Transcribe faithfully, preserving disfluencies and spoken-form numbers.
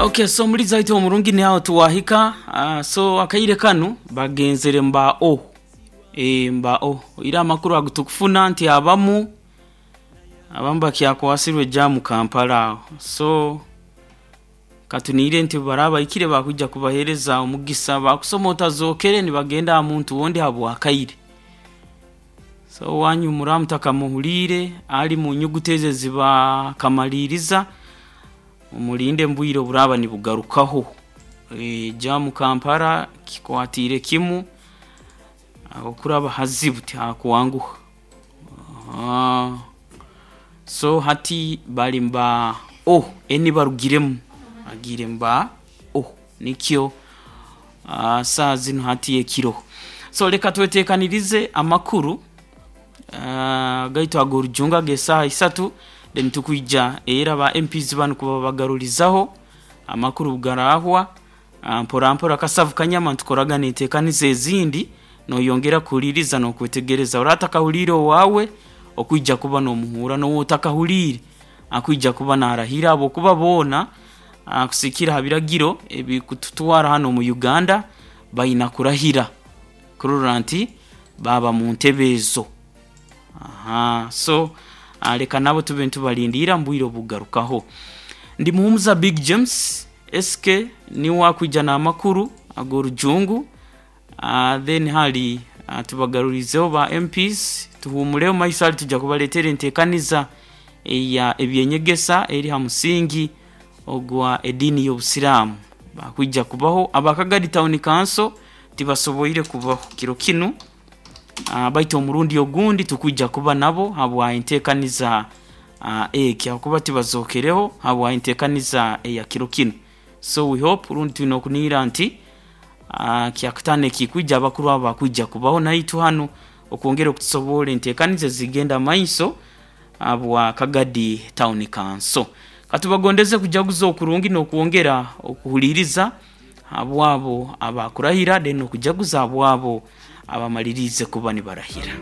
Okay, so muri zaitu omurungi ni aho tuwahika. uh, so akaire kanu bagenzere mba o e, mba o ira amakuru agutukufuna nti abamu abamu bakyakwasirwe jamu Kampala aho. So katuniire nti barabaikire bakujja kubahereza omugisa bakusoma otazokere nibagenda aha muntu wondi habwakaire. So wanyu muramutakamuhulire ali mu nyuguti ezo zibakamaliriza omulinde mbwire oburaba nibugarukaho. E, jamu Kampala kikwatire kimu okuraba hazibu tihakwanguha. Ah, so hati bali mba o eni barugiremu agire mba o nikyo uh, saa zino hati ekiro. So leka twetekanirize amakuru uh, gaitu ag'orujunga g'esaaha isatu, then tukwija era ba M Ps banu kuba bagarurizaho amakuru garahwa uh, mpora mpora kasavu kanyama ntukoragana enteekaniza ezindi noyongera kuhuliriza n'okwetegereza. Oratakahulire owawe okwija kuba n'omuhura, n'owotakahulire akwija kuba narahira, abokuba boona kusikira ha biragiro ebikututwara hano mu Uganda baina kurahira kurora nti baba mu ntebe ezo. Aha, so leka nabo tube ntubalindira mbwire obugarukaho. Ndi Muhumuza Big James S K ni wakwija n'amakuru ag'orujungu. Uh, then hali uh, tubagarurizeho ba M Ps tuhumuleho maiso ali tujja kubaleetera enteekaniza eya ebyenyegesa eri ha musingi ogwa edini y'obusiraamu. Bakwijja kubaho abakagadi Town Council tibasoboire kubaho kiro kinu, uh, baitu omurundi ogundi tukwijja kuba nabo habwa enteekaniza uh, eki hakuba tibazokereho habwa enteekaniza eya kiro kinu. So we hope rundi tulina okuniira nti Uh, kyakutano ekikwijja abakuru abo bakwijja kubaho naitu hano okwongera okutusobola enteekaniza zigenda maiso abwa Kagadi Town Council. Katubagondeze kujaguza okurungi n'okwongera okuhuliriza abwabo abakurahira then okujaguza abwabo abamalirize kuba nibarahira.